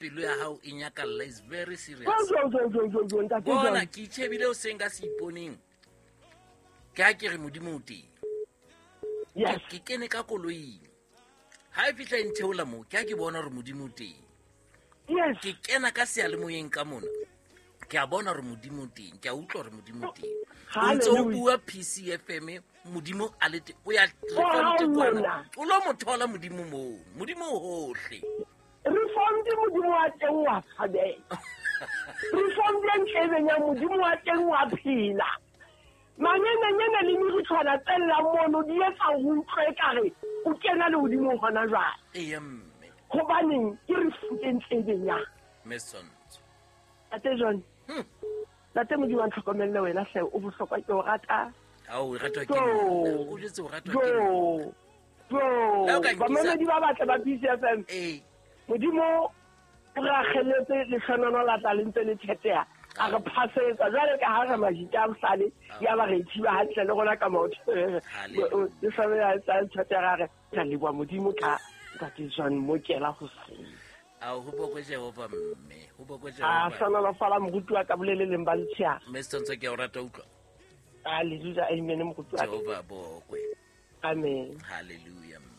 Pelo ya hao e nyakalla is very serious. Jo, jo, jo, jo, jo, ntate Bona John. ke itšhebile o seng ka se iponeng. Ke ha ke re Modimo o teng. Yes. Ke kene ka koloing. Ha e fihla e ntheola moo, ke ha ke bona hore Modimo o teng. Yes. Ke kena ka seyalemoyeng ka mona. Ke a bona hore Modimo o teng. Ke a utlwa hore Modimo o teng. O ntse o Hallelujah. bua PCFM, Modimo a le teng. O ya Oh, Reformed kwana. lona. O lo mo thola Modimo moo. Modimo o hohle. Reformed Modimo wa teng wa tshwabeha. Reformed e ntle e benyang Modimo wa teng wa phela. Manyenyanyana le meritshwana tse llang mono di etsa hore o utlwe ekare o kena lehodimong hona jwale. Eya mme. Hobaneng ke Reformed e ntle e benyang. Mme Sonto. Ntate John. Ntate Modimo a ntlhokomelle wena hle, o bohlokwa ke o rata. Ao, o ratwa ke Jo. nna. O jwetse o ratwa ke nna. Jo. Jo. La o ka nkisa- Bamamedi ba batle ba PCFM. Ee. Modimo o re akgelletse lehlonono la tla le ntse le theteha. A re phasetsa jwale ka ha re majita a bohlale, ya ba re thiba hantle le rona ka maoto. Hallelujah. Lehlonono la tla le theteha, ra re, re leboha Modimo ka Ntate John Mokela hoseng. Ao, ho bokwe Jehova mme. Ho bokwe A Jehova. hlonolofala moruti wa ka boleleleng ba letsheare. Mme Sonto ke a o rata utlwa. Hallelujah, amen moruti wa ka. Jehova a bokwe. Amen. Hallelujah mme.